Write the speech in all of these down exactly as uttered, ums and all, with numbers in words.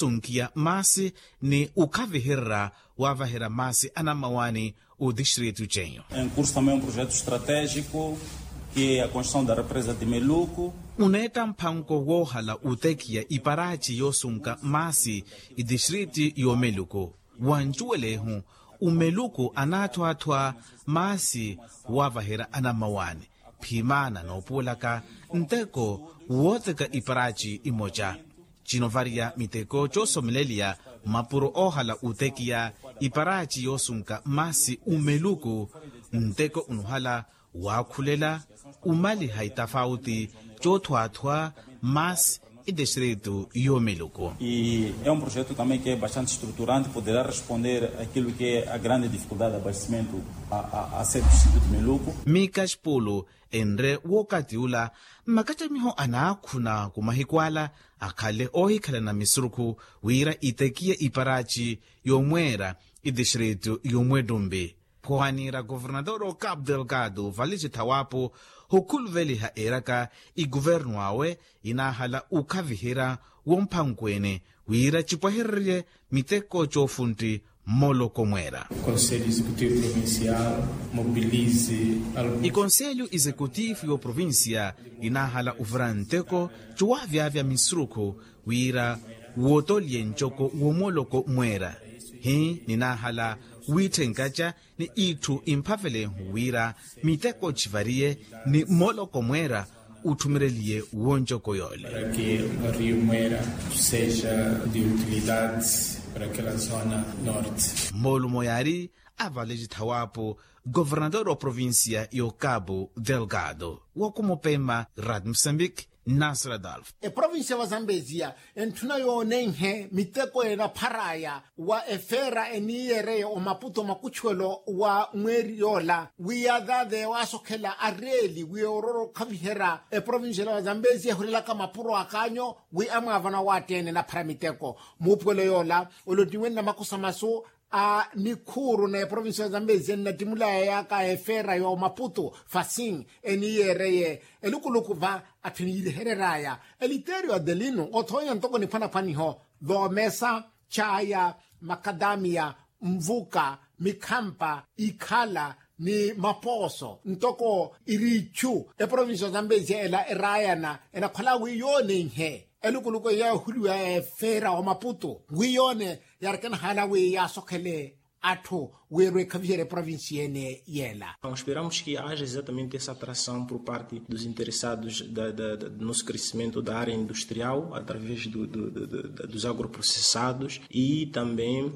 osunkiya maasi ni okhavihererya wavaherya maasi anammawaani. Otistritu cenyu. Em curso também um projeto estratégico, que é a construção da represa de meluco. Oneetta mphanko woohala otekiya iparaci yoosunka maasi itistriti y'omeluko. Wancuwelehu omeluko anaathwaathwa maasi wavaherya anammawaani. Phimaana noopuwelaka nteko wooteka iparaci imoca. Cinovariya miteko coosomeleliya mapuro oohala otekiya iparaci yoosunka maasi omeluku. Nteko onuhala waakhulela omaliha itafauti coothwaathwa maasi itistritu y'omeluku. E é um projeto também que é bastante estruturante, poderá responder aquilo que é a grande dificuldade de abastecimento a a a centro de meluco. Mika xipulu enre w'okati ula, makacamiho anaakhuna ku mahiku ala akhale oohikhalana misurukhu wira itekiye iparaci y'omweera itistritu y'omwettumpi. Phowanira governador o cabo delgado valisi thawapo hokhuluveliha eeraka ikuvernu awe inaahala okhaviherya womphankweene wira cipwehererye miteko coofuntti mmoloko mweera. Conselho executivo provincial mobilize algo ikonselho executivo y'oprovincia inaahala ovira nteko cowaavyavya misurukhu wira wootolye ncoko womoloko mweera. Hi ninaahala wiitthenkaca ni itthu imphavelenhu wira miteko civariye ni mmoloko mweera utthumereliye woncoko yoole. Para que o rio Moera seja de utilidade para aquela zona norte. Moolumo yaari avaleci thawaapo governador wa provincia yo cabo delgado. Wakumupema rad mosambique. Nasra dalf. Eprovincia va zambezia entthuna yoonenhe miteko enapharaya wa efeera eniiyereye omaputo makutchuwelo wa mweeri yoola wi yaathaathe waasokhela areeli wi ororo okhaviherya. Eprovincia la zambezia ehurelaka mapuro akaanyo wi amwaavana waatteene enaphara miteko muupuwelo yoola olottiwe nnamakhusa masu a nikhuuru na eprovincia ya zambezia nnattimulaya yaaka efeera ya omaputo fasin eniiyereye elukuluku va atthu eniirihereraya eliterio adelino othoonya ntoko niphwanaphwaniho thoomesa chaaya makadamiya nvuka mikhampa ikhala ni mapooso ntoko iriichu eprovincia ya zambezia ela eraayana enakhola wi yoonenhe elukuluku eyo yaahuliwa efeera wa maputo wi yoone yaarikanahaala wi yaasokhele atthu wiirwe ekhaviherya eprovincia ene yeela. Esperamos que haja exatamente essa atração por parte dos interessados do nosso crescimento da área industrial através dos agroprocessados e também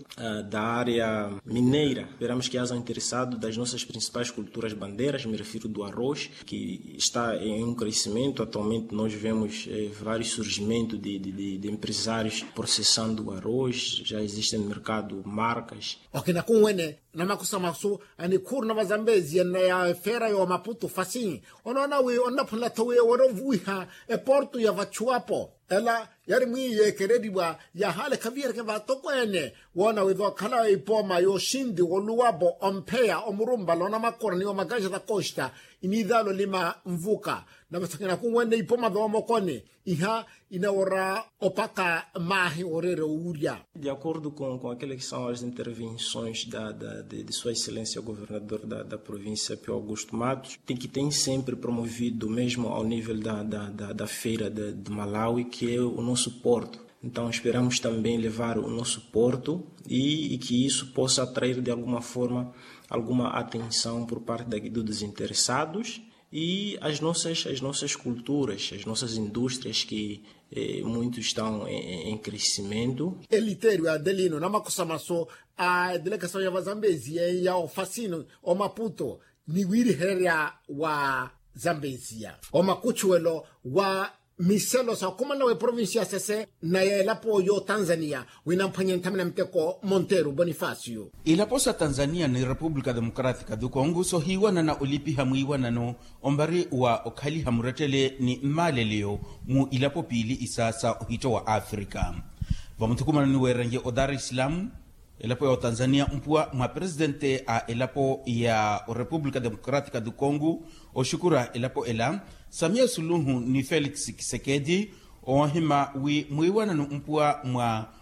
da área mineira. Esperamos que haja interessados das nossas principais culturas bandeiras, me refiro do arroz, que está em um crescimento. Atualmente nós vemos vários surgimentos de empresários processando o arroz, já existem no mercado marcas. Okina kunwene namakhusa masu anikhuuru na vazambezia nna ya efeera ya omaputu fasin onoona wi onnaphunela-tho wi ewere ovuwiha eportu ya vachuwapo ela yari mwiiyeekereriwa yahaala ekhavihereke vatokweene woona wi vookhala ipooma y'oxinti woluwapo ompheya omurumpala onamakora ni omakaxa da costa iniithaala olima nvuka na vathakina kunwene ipooma voomokoni iha inawora opaka maahi oreera owurya. De acordo com aquela que são as intervenções da de sua excelência governador da província pio augusto matos tem que tem sempre promovido mesmo ao nível da feira de malawi que é o nosso porto. Então esperamos também levar o nosso porto e que isso possa atrair de alguma forma alguma atenção por parte dos interessados e as nossas as nossas culturas as nossas indústrias que muitos estão em crescimento. Eliterio adelino namakhusa masu a edelegasaw ya vazambezia ya ofasino omaputo ni wiirihererya wa zambezia omakutchuwelo wa miselo sa okhumanela wa eprovincia ya sese na ya elapo y'otanzania winamphwanye nthamina miteko monteru bonifacio. Ilapo sa tanzania ni repupulika democratica do congo sohiiwanana olipiha mwiiwanano ombari wa okhaliha murettele ni mmaaleleyo mu ilapo piili isa sa ohitto wa afrika. Vamuthukumanoni weerenrye o dar es salaam elapo ya otanzania mpuwa mwa presidente a elapo ya orepupulika democratica do congo oxukura elapo ela samia suluhu ni felix kisekedi oohima wi mwiiwanano mpuwa mwa